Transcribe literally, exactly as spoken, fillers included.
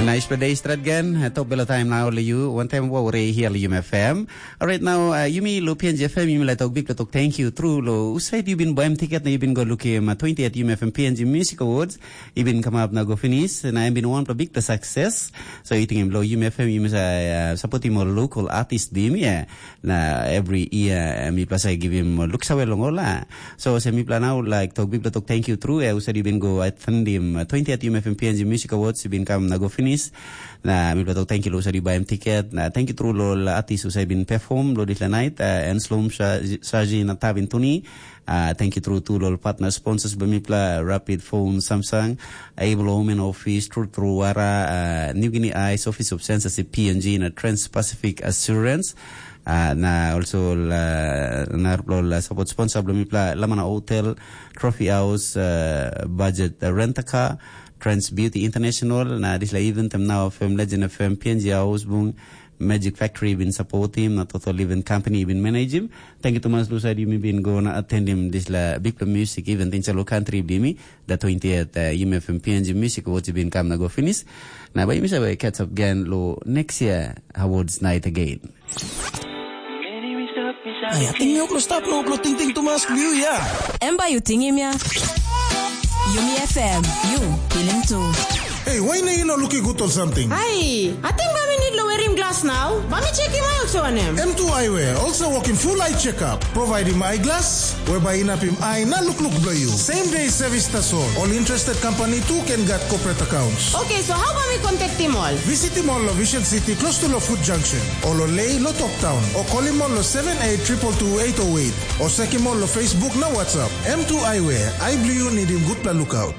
Nice for day strat again. Top bela time now le you. One time wa ore here le you F M. Alright now uh, you me lo P N G F M you me like talk big talk thank you through lo. Usaid you been buy ticket na you been go look him uh, twenty at U M F M P N G Music Awards. You been come up now go finish and I been one for big the success. So you think him lo U M F M you must uh, support him or local artist dim yeah. Na every year uh, mi plus I give him uh, looks away long ola. So se mipla nau like tok bipla tok thank you through eh, usa di bin go attend him uh, twentieth U M F M P N G Music Awards bin kam na go finish. Na mipla tok thank you lo usa di buy him ticket. Na thank you through lo la artist usa bin perform lo di la night uh, and slum saji na tabin tuni. Uh, thank you through to lo partner sponsors ba mipla Rapid Phone Samsung, Able Women Office, True True Wara, uh, New Guinea Eyes, Office of Censorship P N G na Trans Pacific Assurance. Uh, na also la, na lo la support sponsor blo mipla Lamana Hotel, Trophy House, uh, Budget uh, Rent a Car, Trans Beauty International, na disla event em now F M Legend F M P N G House bung Magic Factory been support him, na Total Event Company been manage him. Thank you Thomas Lusa di mi been go na attend him disla big music event in Chalo country bli mi, the twentieth uh, U M F M P N G Music Awards been come na go finish. Na ba yumi save catch up again lo next year awards night again. Ai, ating mi oklo stap no oklo tingting tumas liu ya. Em ba yu tingim ya. Yumi F M, yu pilim tu. Hey, why na you not looking good or something? Ai, ating ba mi need lo werim glass now. Ba mi chekim out so anem. M two Eyewear also working full eye checkup, providing eyeglass, whereby inapim eye na look look blow you. Same day service tasol. All interested company too can get corporate accounts. Okay, so how ba mi contact him all? Visit him all lo Vision City close to lo Food Junction. Or lo Lay lo Top Town. Or call him all lo seven eight triple two eight oh eight. Or check him all lo Facebook na WhatsApp. M two Eyewear. I believe you need him good pla lookout.